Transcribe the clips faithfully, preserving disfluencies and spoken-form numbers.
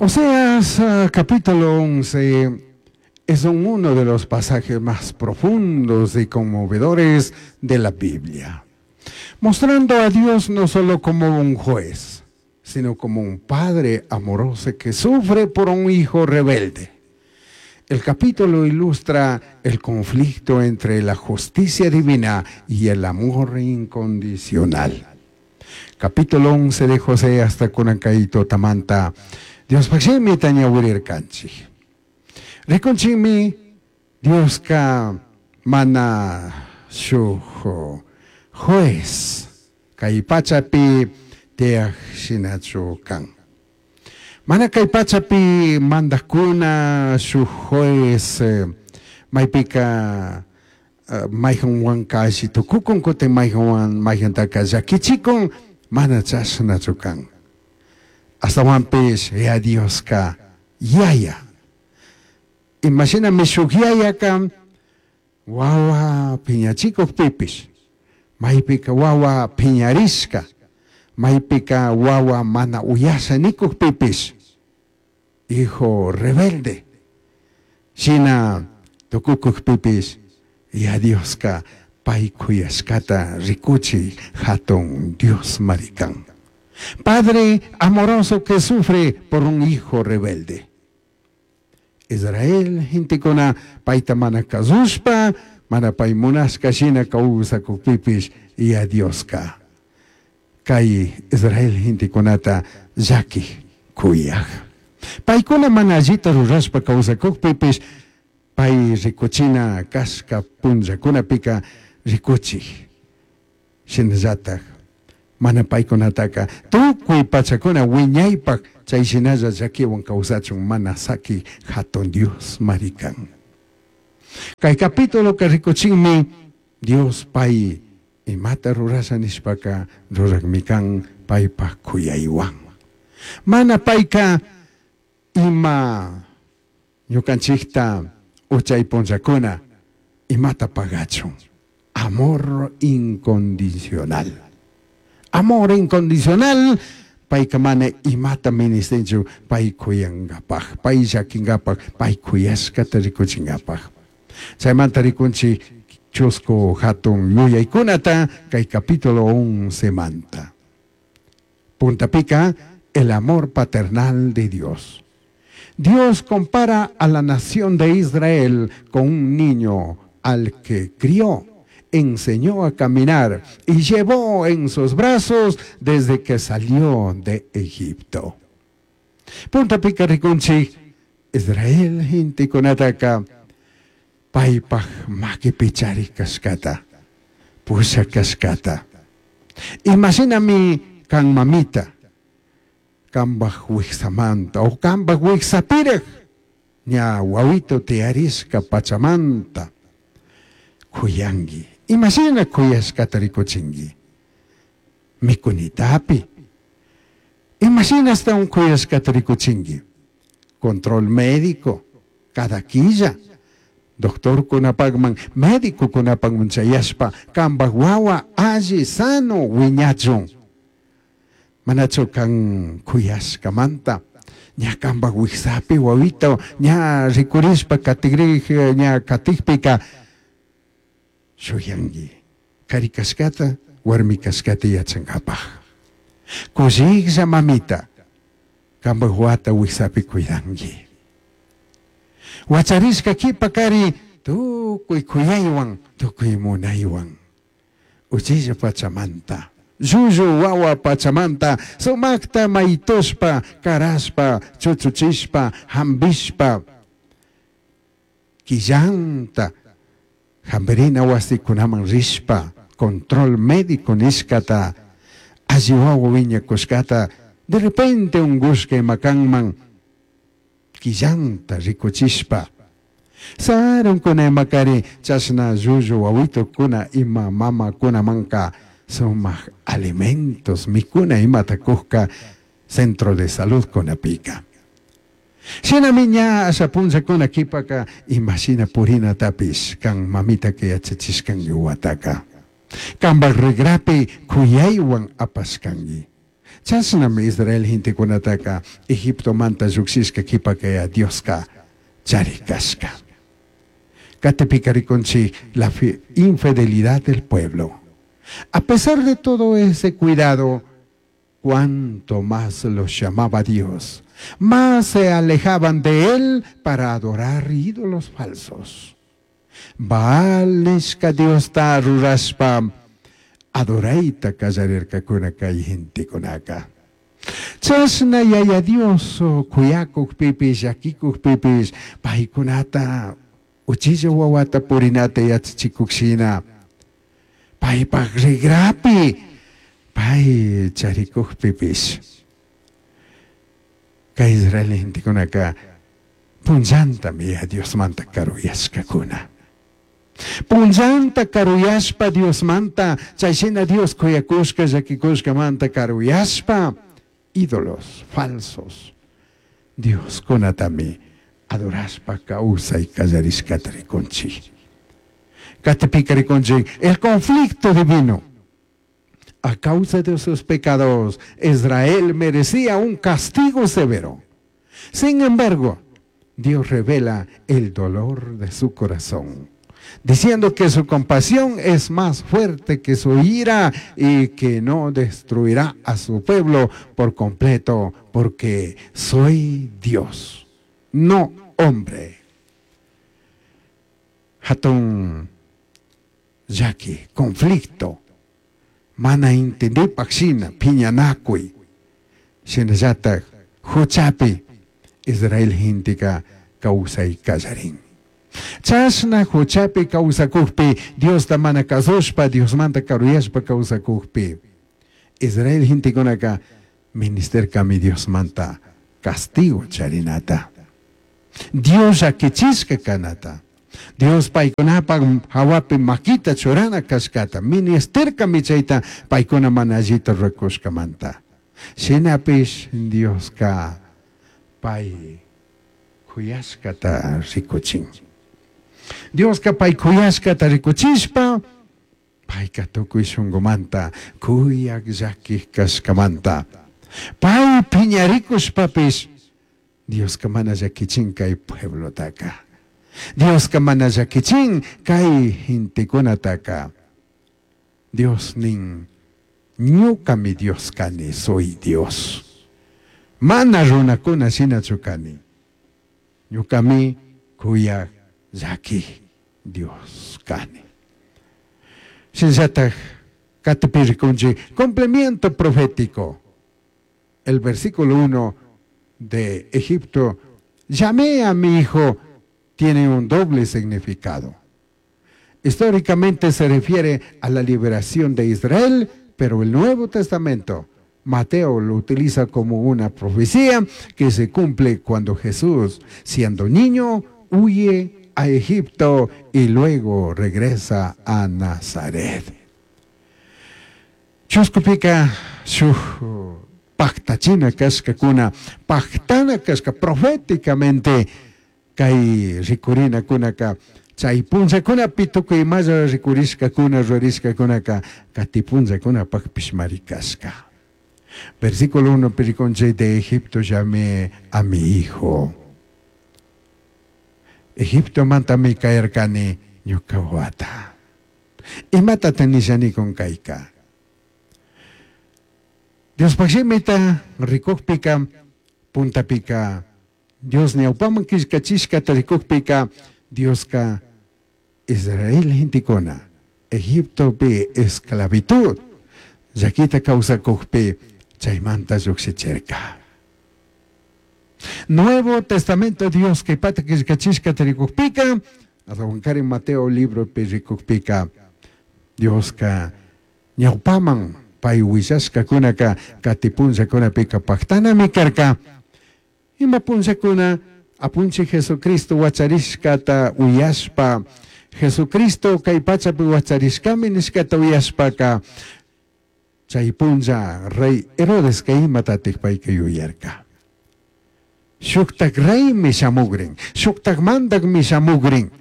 Oseas capítulo once es uno de los pasajes más profundos y conmovedores de la Biblia, mostrando a Dios no solo como un juez, sino como un padre amoroso que sufre por un hijo rebelde. El capítulo ilustra el conflicto entre la justicia divina y el amor incondicional. Capítulo once de Oseas hasta kunan kay tutamanta Diospaj shimita ñawirirkanchik. Rikunchikmi Dioska mana shuj juez kay pachapi tiyaj shinachu kan. Mana kay pachapi mandajkuna shuj juez maypika mayjanwanka alli tukukun kutin mayjanwan mayjantaka llakichikun mana chashnachu kan. Ashtawanpish ya Dioska yaya. Imashinami shuk yayaka wawa piñachikukpipish maypika wawa piñarishka maypika wawa mana uyasha nikukpipish hijo rebelde shina tukukukpipish ya Dioska pay kuyashkata rikuchi hatun Dios marikan. Padre amoroso que sufre por un hijo rebelde. Israel gentekuna payta mana kasushpa mana pay munashka shina kawsakukpipish ya Dioska kay Israel gentekunata llaki kuyaj. Paykuna mana allita rurashpa kawsakukpipish pay rikuchina kashka punllakunapika rikuchik shinallatak mana paykunataka tukuy pachakuna wiñaypak chay shinalla llakiwan kawsachun mana saki hatun Dios marikan. Kay capítulo ka rikuchinmi Dios pay imata rurasha nishpaka rurakmi kan paypak kuyaywan. Mana payka ima ñukanchikta uchay punllakuna imata pagachun. Amor incondicional. Amor incondicional payka mana imata ministinchu pay kuyankapaj, pay llakinkapaj, pay kuyashkata rikuchinkapaj. Chaymanta rikunchik chusku hatun yuyaykunata kay capítulo once manta. Puntapika, el amor paternal de Dios. Dios compara a la nación de Israel con un niño al que crió, enseñó a caminar y llevó en sus brazos desde que salió de Egipto. Puntapika rikunchik, Israel gentekunataka paypaj makipi charik kashkata, pushak kashkata. Imashinami kan mamita, kambaj wiksamanta o kambaj wiksapiraj ña wawito tiyarishka pachamanta kuyanki. Imashina kuyashkata rikuchinki. Mikunitapi. Imashina hasta un kuyashkata rikuchinki. Control médico, cada quilla. Doctor kunapakman, médico kunapakman chayashpa, kambaj wawa alli sano wiñachun. Manachu kan kuyashkamanta, ña kambaj wiksapi wawito, ña rikurishpa katigrij, ña katikpika, shuyanki. Kari kashkata, warmi kashkata yachankapaj. Kushiklla mamita, kambaj wawata wiksapi cuidanki. Wacharishka kipa kari tukuy kuyaywan, tukuy munaywan. Uchilla pachamanta, llullu wawa pachamanta, sumakta maytushpa, karashpa, chuchuchishpa, hambishpa, quillanta, hambirina wasikunaman rishpa, control médico nishkata, alli wawa wiñakushkata, de repente ungushka imakanman, quillanta rikuchishpa. Sarunkuna imakari chashna llullu wawitukuna ima mamakunamanka sumak alimentos mikuna imata kujka centro de salud kunapika. Shinami ña asha punllakuna kipaka imashina purinatapish kan mamitaka yachachishkanki wataka. Kambaj rigrapi kuyaywan apashkanki. Chashnami Israel gentekunataka Egiptomanta llujshishka qhipaka Dioska charikashka. Qatipika rikunchik la infidelidad del pueblo. A pesar de todo ese cuidado, cuanto más los llamaba Dios, más se alejaban de él para adorar ídolos falsos. Baal nishka Diosta rurashpa adoraita kallarirkakuna kay gentekunaka. Chashna yaya Dios kuyakukpipish llakikukpipish paykunata uchilla wawata purinata yachachikukshina paypak rigrapi pay charikukpipish kay Israel gentekunaka punllantami ya Diosmanta karuyashkakuna. Punllanta karuyashpa Diosmanta chayshina Dios kuyakushka llakikushkamanta karuyashpa ídolos falsos Dioskunatami adorashpa kawsay kallarishkata rikunchik. Qatipika rikunchik el conflicto divino. A causa de sus pecados, Israel merecía un castigo severo. Sin embargo, Dios revela el dolor de su corazón, diciendo que su compasión es más fuerte que su ira y que no destruirá a su pueblo por completo, porque soy Dios, no hombre. Hatun llaki, conflicto, mana entendipak shina, piñanakuy, shinallatak huchapi, Israel genteka kawsay kallarin. Chashna huchapi kawsakukpi, Diosta mana kasushpa, Diosmanta karuyashpa kawsakukpi, Israel gentekunaka ministerkami Diosmanta castigo charinata. Dios llakichishka kanata. Dios paykunapak hawapi makita churana kashkata, ministerkami chayta paykuna mana allita rurakushkamanta. Shinapish Dioska pay kuyashkata rikuchin. Dioska pay kuyashkata rikuchishpa, payka tukuy shunkumanta, kuyak llakik kashkamanta. Pay piñarikushpapish, Dioska mana llakichin kay pueblotaka. Dioska mana llakichin kay gentekunataka. Dios nin, ñukami Dios kani, soy Dios. Mana runakuna shinachu kani. Ñukami kuyak llaki Dios kani. Shinallatak qatipi rikunchik, cumplimiento profético. El versículo uno de Egipto, llamé a mi hijo, tiene un doble significado. Históricamente se refiere a la liberación de Israel, pero el Nuevo Testamento, Mateo lo utiliza como una profecía que se cumple cuando Jesús, siendo niño, huye a Egipto y luego regresa a Nazaret. Chuskupika shuj paktachina kashkakuna, paktana kashka proféticamente kay rikurinkunaka chay punllakunapi tukuy imalla rikurishkakuna rurashkakunaka kati punllakunapakpishmari kashka. Versículo uno, rikunchik, de Egipto llamé a mi hijo. Egiptomantami kayarkani ñuka wawata. Imatata nishanikun kayka? Diospaj shimita rikukpika, puntapika, Dios ñawpaman killkachishkata rikukpika, Dioska Israel gentekuna, Egiptopi esclavitud, llakita kawsakukpi, chaymanta llukshichirka. Nuevo Testamento Dios kaypata killkachishkata rikukpika, ashtawankarin Mateo libropi rikukpika, Dioska ñawpaman pay willashkakunaka kati punllakunapika paktanami karka. Ima punllakuna apunchik Jesucristo wacharishkata uyashpa, Jesucristo kay pachapi wacharishkami nishkata uyashpaka, chay punlla rey Herodes kay imatatik payka yuyarka. Shuktak reymi shamugrin, shuktak mandakmi shamugrin.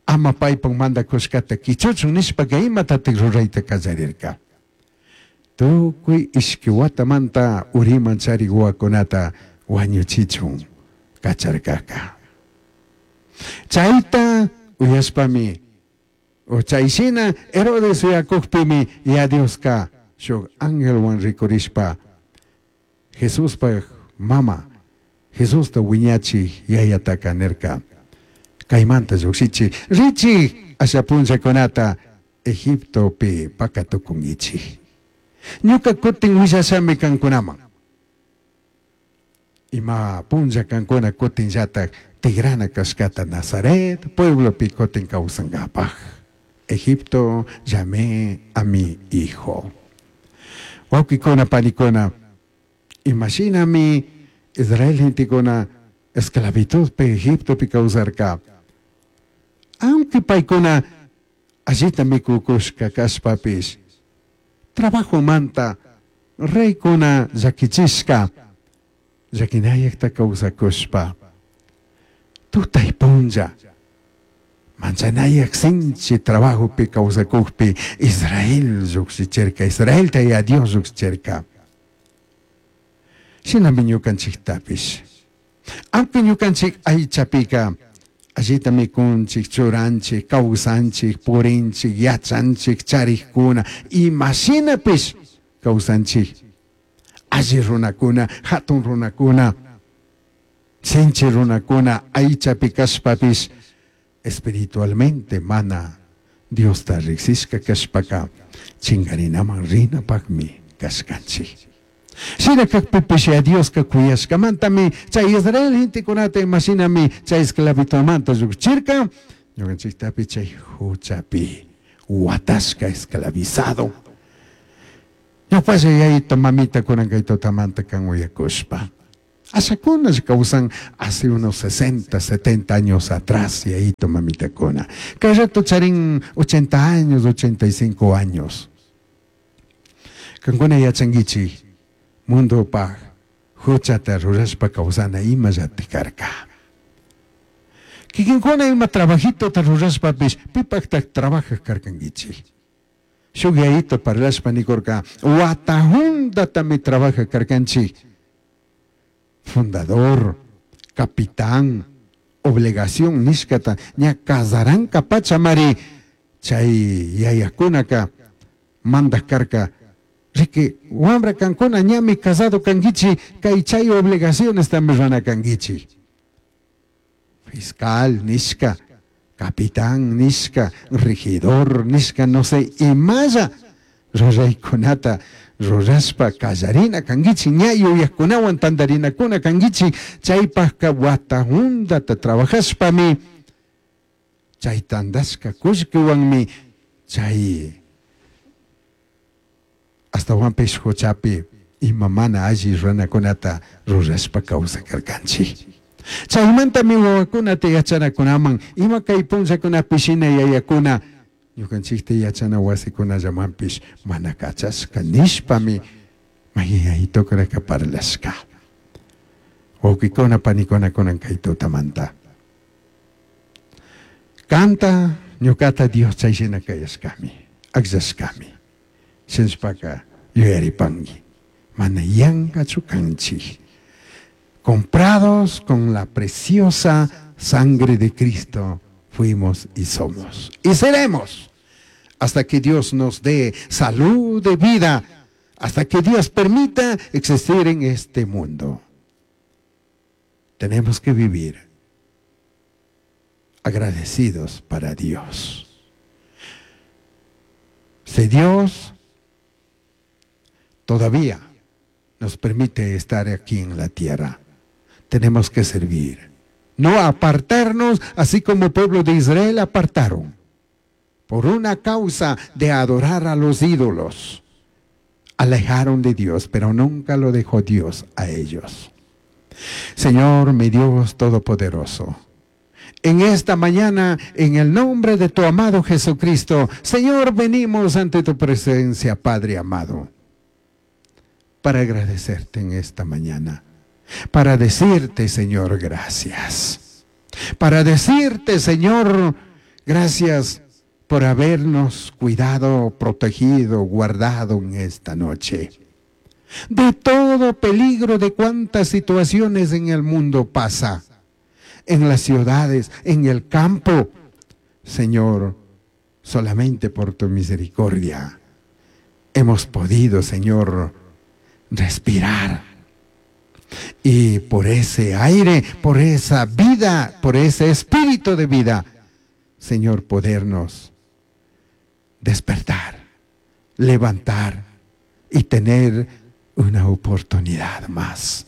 Ama paypak mandakushkata kichuchun nishpaka imatatik rurayta kallarirka. Tukuy ishki watamanta uriman charik wawakunata wañuchichun kacharkaka. Chayta uyashpami o chayshina Herodes uyakukpimi ya Dioska shuk angelwan rikurishpa Jesuspaj mama Jesusta wiñachik yayataka nirka kaymanta llukshichik richik asha punllakunata Egiptopi pakatukunkichik. Ñuka kutin willashami kankunaman. Ima punlla kankuna kutinllatak tigrana kashkata Nazaret pueblopi kutin kawsankapaj. Egipto llamé a mi hijo. Wawkikuna panikuna, imashinami Israel gentekuna esclavitudpi Egiptopi kawsarka. Aunque paykuna allita mikukushka kashpapish, trabajomanta reykuna llakichishka, llakinayakta kawsakushpa, tutay punlla, manchanayak sinchi trabajopi kawsakukpi Israel llukshichirka, Israelta ya Dios llukshichirka. Shinami ñukanchiktapish. Aunque ñukanchik aychapika, allita mikunchik, churanchik, kawsanchik, purinchik, yachanchik, charikkuna, imashinapish kawsanchik. Alli runakuna, hatun runakuna, sinchi runakuna, aychapi kashpapish, espiritualmente mana Diosta riksishka kashpaka, chingarinaman rinapakmi kashkanchik. Shina kakpipish ya Dioska kuyashkamantami chay Israel gentekunata imashinami chay esclavitumanta llukchirka, ñukanchiktapi chay huchapi watashka esclavizado. Ñawpalla yayita mamita kunan kay tutamanta kan uyakushpa. Ashakuna kawsan hace unos sesenta, setenta años atrás, yayito mamitakuna. Kay rato charin ochenta años, ochenta y cinco años. Kankuna yachankichik mundopaj huchata rurashpa kawsana imallati karka. Kikinkuna ima trabajitota rurashpapish pipaktak trabajaj karkankichik. Shuk yayito parlashpa nikurka wata hundatami trabajaj karkanchik. Fundador, capitán, obligación nishkata ña kazaranka pachamari chay yayakunaka mandak karka. Riki wambra kankuna ñami casado kankichi kay chay obligaciones también rana kankichi. Fiscal nishka, capitán nishka, regidor nishka, no sé, imalla ruraykunata rurashpa kallarina kankichi, ña yuyakkunawan tantarinakuna kankichi, chaypajka wata hundata trabajashpami, chay tandashka kullkiwanmi, chay astawanpish huchapi ima mana alli runakunata rurashpa kawsakarkanchik. Chaymantami wawakunata yachanakunaman, ima kay punllakunapi shina yayakuna, ñukanchikta yachana wasikunallamanpish mana kachashka nishpami mayayaytukunaka parlashka. Wawqikuna panikuna kunan kay tutamanta. Kanta ñukata Dios chay shina kayashkami, akllashkami. Shinshpaka yuyaripanki, mana yankachu kanchik. Comprados con la preciosa sangre de Cristo fuimos y somos. Y seremos hasta que Dios nos dé salud de vida, hasta que Dios permita existir en este mundo. Tenemos que vivir agradecidos para Dios. Si Dios todavía nos permite estar aquí en la tierra, tenemos que servir. No apartarnos, así como el pueblo de Israel apartaron, por una causa de adorar a los ídolos. Alejaron de Dios, pero nunca lo dejó Dios a ellos. Señor, mi Dios Todopoderoso, en esta mañana, en el nombre de tu amado Jesucristo, Señor, venimos ante tu presencia, Padre amado, para agradecerte en esta mañana, para decirte, Señor, gracias. Para decirte, Señor, gracias por habernos cuidado, protegido, guardado en esta noche. De todo peligro, de cuántas situaciones en el mundo pasa, en las ciudades, en el campo. Señor, solamente por tu misericordia hemos podido, Señor, respirar. Y por ese aire, por esa vida, por ese espíritu de vida, Señor, podernos despertar, levantar y tener una oportunidad más.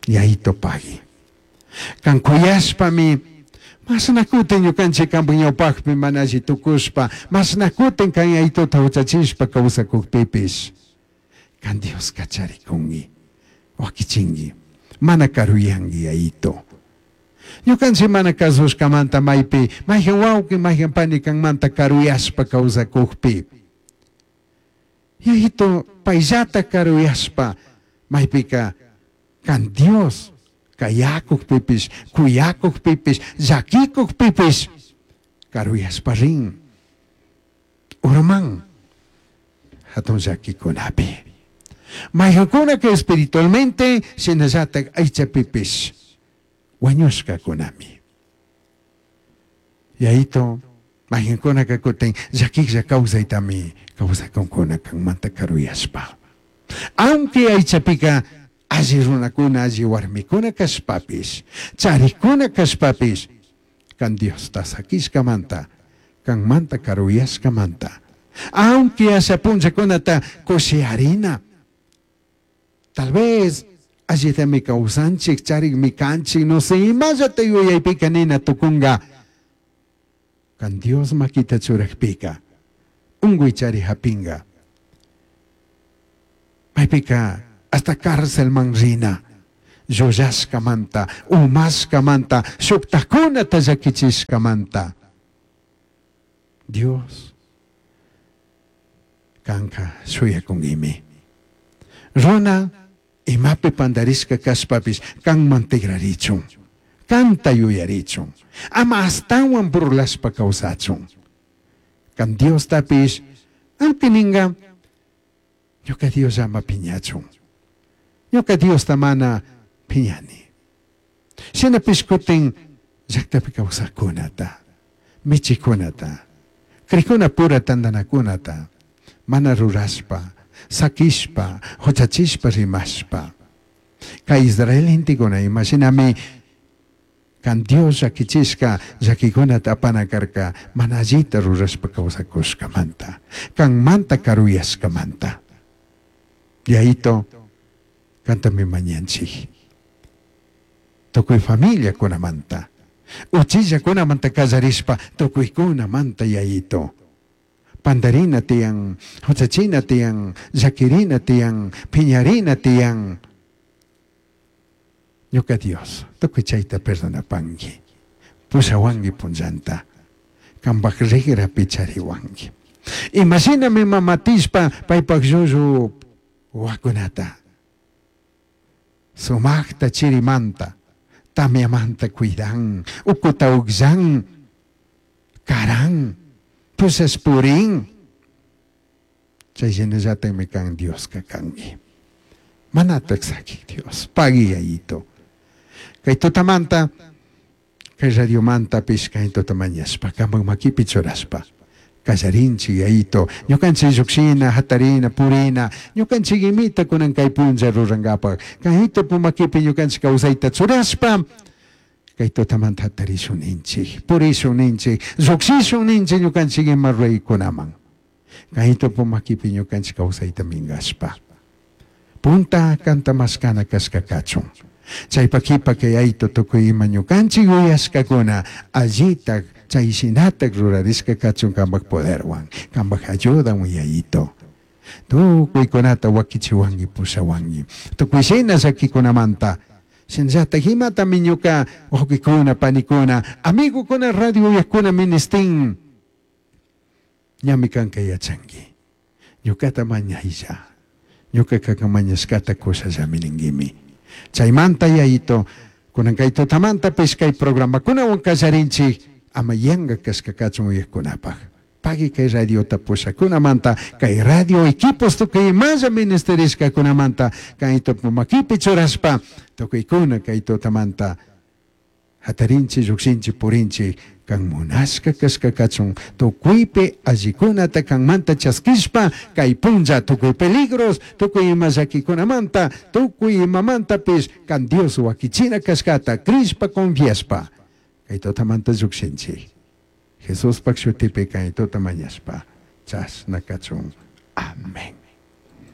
Y ahí topagui. Kan kuyashpami, mashnakutin ñukanchik kanpak ñawpakpi mana alli tukushpa, mashnakutin kan Yayituta huchachishpa kawsakukpipish, kan Dios kacharikunki, wakichinki, mana karuyanki Yayito. Ñukanchik mana kasushkamanta maypi, mayhan wawqi, mayhan pani kanmanta karuyashpa kawsakukpi. Yayito payllata karuyashpa, maypika kan Dios kayakukpipish, kuyakukpipish, llakikukpipish, karuyashpa rin, urman, hatun llakikunapi. Mayhankunaka espiritualmente, shinallatak aychapipish, wañushkakunami. Yayito, mayhankunaka kutin llakiklla kawsaytami kawsakunkuna kanmanta karuyashpa. Aunque aychapika alli runakuna, alli warmikuna kashpapish, charikuna kashpapish, kan Diosta sakishkamanta, kanmanta karuyashkamanta. Aunque asha punllakunata kushiarina, tal vez allitami kawsanchik, charikmi kanchik, no sé, imallata yuyaypika nina tukunga. Kan Dios makita churakpika, unguy chari hapinga. Maypika hasta cárcel man rina, llullashkamanta, umashkamanta, shuktakunata llakichishkamanta. Dios, kanka shuyakunkimi. Runa, imapi pandarishka kashpapish, kanman tigrarichun, kanta yuyarichun, ama astawan burlashpa kawsachun. Kan Dios tapish, aunque ninga, ñuka Dios ama piñachun. Ñuka Dios mana piñani. Shinapish kutin llaktapi kawsaqkunata, michikunata, krikuna pura tantanakunata, mana rurashpa, sakishpa, huchachishpa rimashpa. Kay Israel gentekuna imashinami kan Dios llakichishka llakikunata apana karka mana allita rurashpa kawsakushkamanta, kanmanta karuyashkamanta. Yayito, kantami mañanchik. Tukuy familia kunamanta, uchilla kunamanta kallarishpa tukuy kunamanta Yayito. Pandarina tiyan, huchachina tiyan, llakirina tiyan, piñarina tiyan. Ñuka Dios, tukuy chayta perdonapanki, pushawanki punllanta, kanpak rigrapi chariwanki. Imashinami mamatishpa paypak llullu wawakunata, sumakta chirimanta, tamyamanta cuidan, ukuta ukllan, karan, pushash purin. Chay shinallatakmi kan Dioska kanki. Manatak sakik Dios, pagui Yayito. Kay tutamanta, kay radiomanta pish kay tutamañashpa, kanpak makipi churashpa. Kallarinchik Yayito, ñukanchik llukshina, hatarina, purina, ñukanchik imita kunan kay punlla rurankapak. Kayito pumakipi ñukanchik kawsayta churashpa, kay tutamanta hatarishun ninchik, purishun ninchik, llukshishun ninchik ñukanchik ima ruraykunaman. Kayito pumakipi ñukanchik kawsayta minkashpa. Punta kanta mashkana kashka kachun. Chaypa kipa kay Yayito tukuy ima ñukanchik yuyashkakuna allitak chay shinatak rurarishka kachun kanpak poderwan, kanpak ayudawan Yayito. Tukuykunata wakichiwanki pushawanki. Tukuy shina llakikunamanta. Shinallatak imatami ñuka wawqikuna, panikuna, amigokuna, radio uyakuna ministin. Ñami kanka yachanki. Ñukata mañaylla. Ñuka kaka mañashkata kushallami ninkimi. Chaymanta Yayito, kunan kay tutamanta pish kay programakunawan kallarinchik, Ama yanga kashka kachun uyajkunapaj. Pagui kay radiota pushakunamanta, kay radio equipos tukuy imalla ministerishkakunamanta, kay makipi churashpa, tukuykuna kay tutamanta hatarinchi, llukshinchi, purinchi, kan munashka kashka kachun, tukuypi allikunata kanmanta chaskishpa, kay punlla tukuy peligros, tukuy ima llakikunamanta, tukuy imamantapish kan Dios wakichina kashkata, crishpa, confiashpa, kay tutamanta llukshinchi. Jesuspak shutipi kay tuta mañashpa, chashna kachun. Amén.